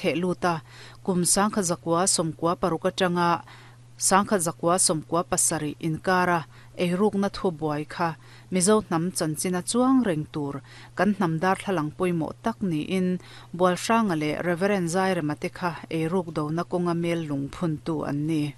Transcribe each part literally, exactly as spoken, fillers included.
The luta kum sangkha zakwa somkwa paruk atanga sangkha zakwa somkwa pasari inkara eiruk na thu buai kha Mizo hnam chanchina chuang reng tur kan hnam dar thlalang pawimawh tak niin Bualhranga leh Reverend Zairema te kha eiruk do na kawnga mel lungphun tu an ni.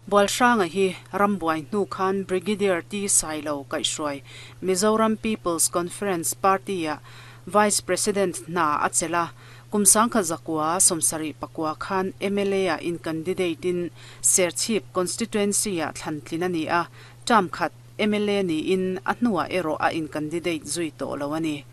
Bualhranga hi rambuai hnu khan Brigadier T Sailo kaihhruai Mizoram People's Conference Party a Vice President hna a chela kum sangkha zakwa sawmsarih pakua khan M L A a in candidate in Serchhip constituency ah thlantlin a ni a, term khat M L A niin a hnuah erawh a in candidate zui tawh lo a ni.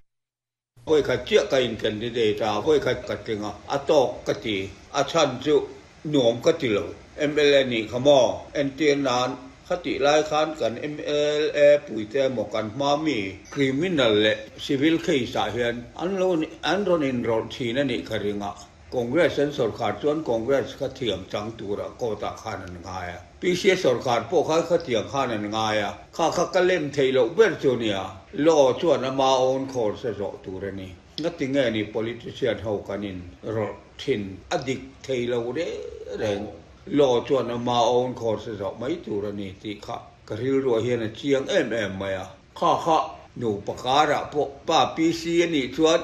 Voi khat chiah ka in candidate a, voi khat ka tling a, a tawk ka ti. A chhan chu nuam ka ti lo. M L A nih kha maw, entir nan khatih lai khan kan M L A puite emaw kan hma mi criminal leh civil case ah hian an lo an rawn inrawlh thin a nih ka ring a. Congress an sorkar chuan Congress kha thiam chang tura court ah khan an ngai a. P C sorkar pawh kha khatiang khan an ngai a. Kha kha ka lem thei loh ber chu nia. Law chuan ama own course a zawh tur a ni. Ngati nge ni politician ho kan in rawlh thin, a dik thei lo reng reng. Law chuan ama own course a zawh mai tur a ni tih kha ka rilruah hian a chiang em em mai a. Kha kha nupa karah pawh pa P C a nih chuan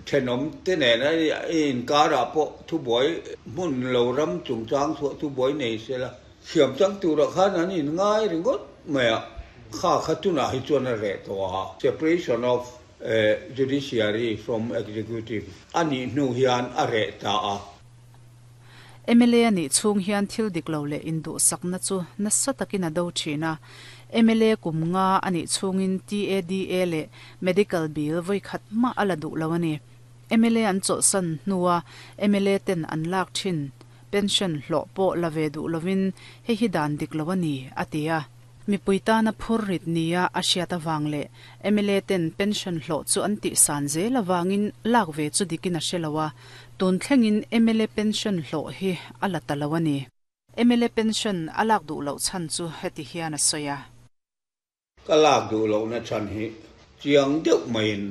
thenawm te nen a inkarah pawh thubuai hmun lo ram chungchang chhuah thubuai nei sela thiam chang turah khan an in ngai ringawt mai a. Kha kha tunah hi chuan a reh tawh a, separation of judiciary from executive a nih hnu hian a reh ta a. M L A a nih chhung hian thil dik lo leh induhsakna chu nasa takin a do thin a. M L A kum nga a nih chhungin T A D A leh medical bill voi khat mah a la duh lo a ni. M L A an chawlhsan hnua M L A ten an lak thin pension hlawh pawh la ve duh lovin hei hi dan dik lo a ni a ti a. Mipui tana phur rit nia a hriat awang leh M L A ten pension hlawh chu an tih san zel awangin lak ve chu dikin a hre lo a, tun thlengin M L A pension hlawh hi a la ta lo a ni. M L A pension a lak duh loh chhan chu heti hian a sawi a. Ka lak duh lohna chhan hi chiang deuh maiin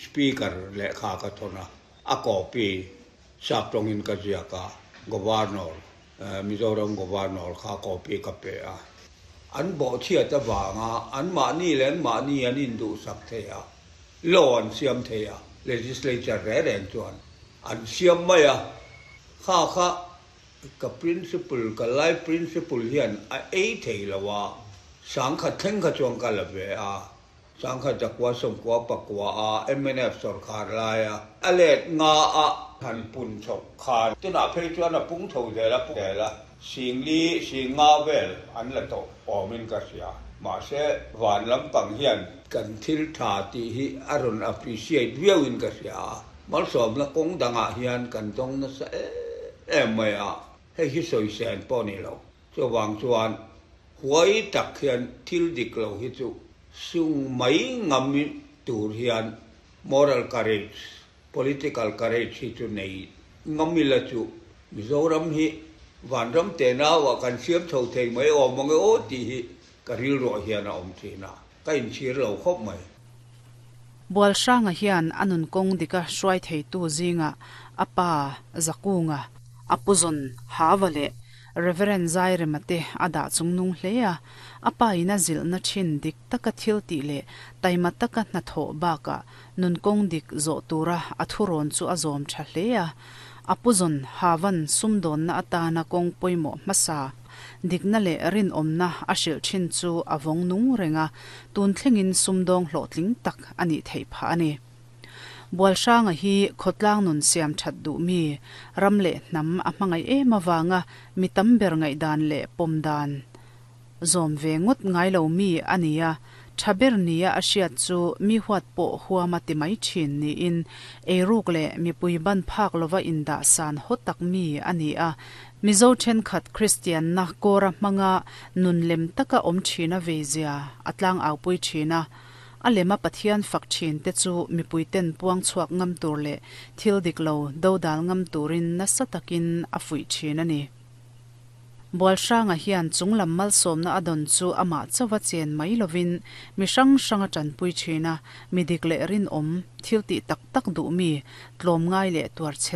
speaker lehkha ka thawn a, a copy sap tawngin ka ziak a, governor, Mizoram governor kha copy ka pe a. An bawhchhiat avanga an mahni leh an mahni an induhsak thei a, law an siam thei a, legislature reng reng chuan an siam mai a. Kha kha ka principle, ka life principle hian a ei thei lo a. Sangkhat thleng kha chuan ka la ve a, sangkhat zakua sawmkua pakua a M N F sorkar lai a a let nga a han pun chho khan tunah phei chuan a pung tho zel a, zel a, singli singa vel an la tawh awmin ka hria. Mahse van lampang hian kan thil tha tih hi a rawn appreciate viauin ka hria a, malsawmna kawng dangah hian kan dawng nasa em mai a. Hei hi sawi pawh ni lo, chuwang chuan huai tak hian thil dik lo hi chu sung mai ngam tur hian moral courage, political courage hi chu nei ngamila chu Mizoram hi vanram te nawa kan siam chho thei mai awm ang e aw tih hi ka rilruah hian a awm thin a, ka inchhir lo khawp mai. Bualhranga hian anun kawng dika hruai thei tu zinga apa Zakunga, apuzon hawa leh Reverend Zairema te a dah chungnung hle a. Apa ina zilhna thin dik taka thil tih leh taima taka hnathawh baka nun kawng dik zawh tura a thurawn chu a zawm tha hle a. Apuzon hawan sumdawnna atana kawng pawimawh hmasa dikna leh rinawmna a hrilh thin chu a vawng nung renga, tun thlengin sumdawng hlawhtling tak ani theih phah ani. Bualhranga hi khawtlang nun siam that duh mi, ram leh hnam a hmangai em awanga mi tam ber ngai dan leh pawm dan zawm ve ngawt ngai lo mi ania. Thaber nia a hriat chu mi huat pawh huama ti mai thin niin eiruk leh mipui ban phak lova indah san haw tak mi ani a. Mizo thenkhat Christian na kawra hmanga nun lem taka awm thina veizia atlang au pui thina, a lema Pathian fak thin te chu mipui ten puang chhuak ngam tur leh thil dik lo dodal ngam turin nasa takin a fuih thin ani. Bualhranga hian chunglam malsawmna a dawn chu amah chauha chen mai lovin mi hrang hrang a tanpui thin a, mi dik leh rinawm, thil tih tak tak duh mi, tlawmngai leh tuarchhel